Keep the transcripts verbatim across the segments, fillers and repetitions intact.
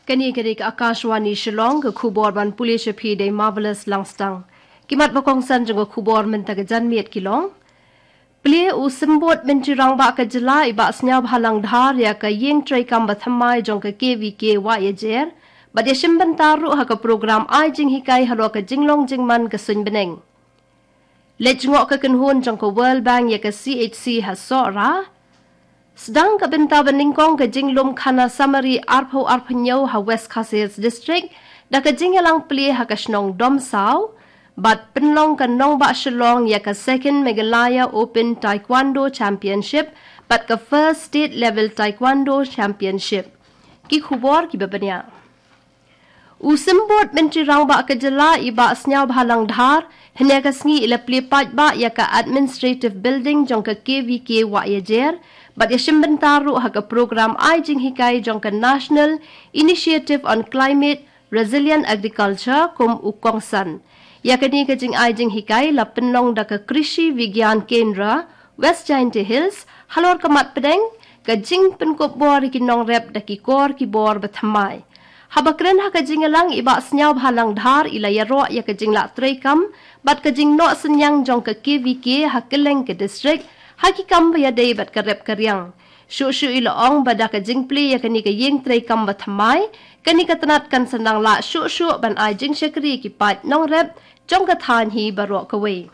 Kane ka dei ka Akashvani Shillong, ka khubor ban pule sha phi da i Marvelous Langstang. Ki mat ba kongsan jong ka khubor mynta ka janmiet ki long: Plie u Symbud Myntri Rangbah ka jylla i Bah Sniawbhalang Dhar ïa ka ïing treikam bathymmai jong ka K V K Wahiajer, bad ïashim bynta ruh ha ka program ai jinghikai halor ka jinglong jingman ka suiñbneng. Leit jngoh ka kynhun jong ka World Bank ïa ka C H C ha Sohra. Sdang ka bynta banyngkong ka jinglum khana samari arphew arphew hynñiew ha West Khasi Hills District, da ka jingïalang plie ha ka shnong Domsaw, bad pynlong ka nongbah Shillong ïa ka Second Meghalaya Open Taekwondo Championship, bad ka First State Level Taekwondo Championship. Ki khubor kiba bniah. U Symbud Myntri Rangbah ka jylla i Bah Sniawbhalang Dhar, hynne ka sngi i la plie paidbah ïa ka Administrative Building jong ka K V K Wahiajer, bad ïashim bynta ruh ha ka program ai jinghikai jong ka National Initiative on Climate Resilient Agriculture kum u kongsan. Ïa kane ka jingai jinghikai la pynlong da ka Krishi Vigyan Kendra, West Jaintia Hills, halor ka mat pdeng, ka jingpynkup bor ïa ki nongrep da ki kor ki bor bathymmai. Haba kren ha ka jingïalang i Bah Sniawbhalang Dhar i la ïaroh ïa ka jinglah treikam, bad ka jingnoh synñiang jong ka K V K ha kylleng ka district, ha ki kam ba ïadei bad ka rep ka riang. Shuh shuh i la ong ba da ka jingplie ïa kane ka ïing treikam bathymmai, kane ka tnat kan sa nang lah shuh shuh ban ai jingshakri ïa ki paid nongrep jong ka thaiñ hi baroh kawei.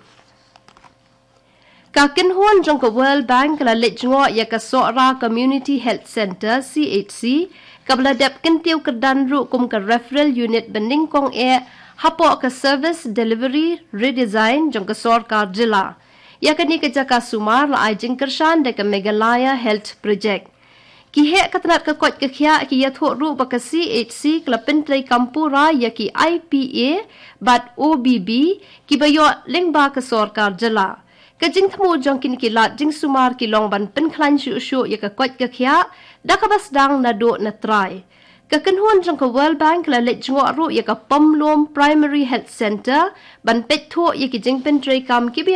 Ka kynhun jong ka World Bank ka la leit jngoh ïa ka Sohra Community Health Centre, C H C, kaba la dep kyntiew kyrdan ruh kum ka referral unit banyngkong eh hapoh ka Service Delivery Redesign jong ka sorkar jylla. Ïa kane ka jaka sumar la ai jingkyrshan da ka Meghalaya Health Project. Ki heh ka tnat ka koit ka khiah ki ïathuh ruh ba ka C H C ka la pyntreikam pura ïa ki I P A bad O B B kiba ïoh lyngba ka sorkar jylla. Ka jingthmu jong kine ki lad jingsumar ki long ban pynkhlaiñ shuh shuh ïa ka koit ka khiah da kaba sdang naduh na trai. Ka kynhun jong ka World Bank ka la leit jngoh ruh ïa ka Pomlum Primary Health Centre ban peit thuh ïa ki jingpyntreikam kiba